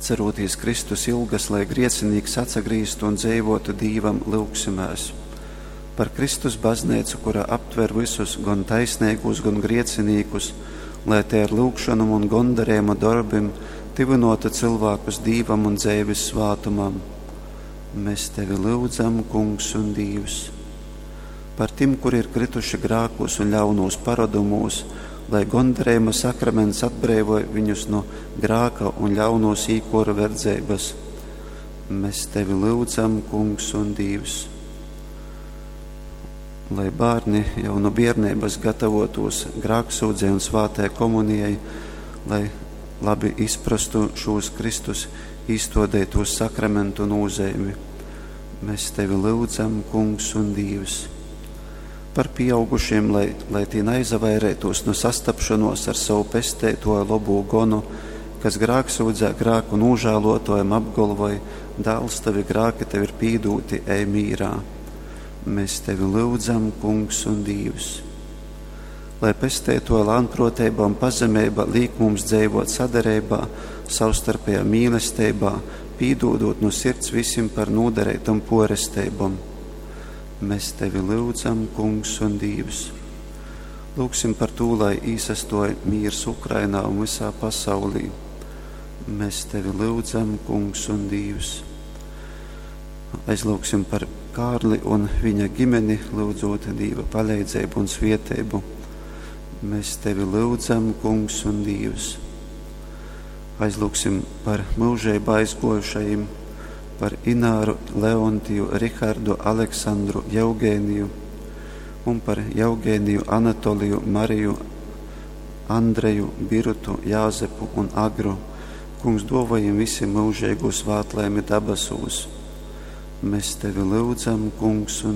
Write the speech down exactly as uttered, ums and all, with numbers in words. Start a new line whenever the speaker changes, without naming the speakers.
Atcerūtīs Kristus ilgas, lai griecinīks atsagrīztu un dzeivotu Dīvam, lyugsimēs. Par Kristus bazneicu, kura aptver vysus, gon taisneigūs, gon griecinīkus, lai te ar lyugšonom un gondarējuma dorbim tyvinotu cilvēkus Dīvam un dzeivis svātumam. Mēs tevi lyudzam, Kungs un Dīvs. Par tim, kuri ir krituši grākos un ļaunūs parodumūs, lai gondarējuma sakraments atbreivoj viņus no grāka un ļaunūs īkoru verdzeibas. Mēs tevi lyudzam, Kungs un Dīvs. Lai bērni jau no bērnības gatavotos grāksūdzei un svātai komunijai, lai labi izprastu šūs Kristus īstodētos sakramentu nozīmi. Mēs tevi lyudzam, Kungs un Dīvs. Par pieaugušiem, lai, lai tie neizavairētos no sastapšanos ar savu pestētoju lobu gonu, kas grāksūdzē grāku nožēlotojam apgalvoj, dēls, tavi grāki tev ir pīdūti, ej mīrā. Mēs tevi lyudzam, Kungs un Dīvs. Lai pestēto lānproteiba un pazemeiba līk mums dzeivot sadarībā, savstarpējā mīlestībā, pīdūdot no sirds visiem par nodarītam poresteibam. Mēs tevi lyudzam, Kungs un Dīvs. Lūksim par to, lai īsastoja mīrs Ukrainā un visā pasaulī. Mēs tevi lyudzam, Kungs un Dīvs. Aizlūksim par Kārli un viņa ģimeni, lūdzot Dīva palīdzību un svietēbu. Mēs tevi lūdzam, Kungs un Dīvs. Aizlūksim par mūžībā aizgojušajiem, par Ināru, Leontiju, Rihardu, Aleksandru, Jeugēniju un par Jeugēniju, Anatoliju, Mariju, Andreju, Birutu, Jāzepu un Agru. Kungs, dovajiem visiem mūžīgu svētlaimi dabasūs. Mēs tevi lūdzam, Kungs un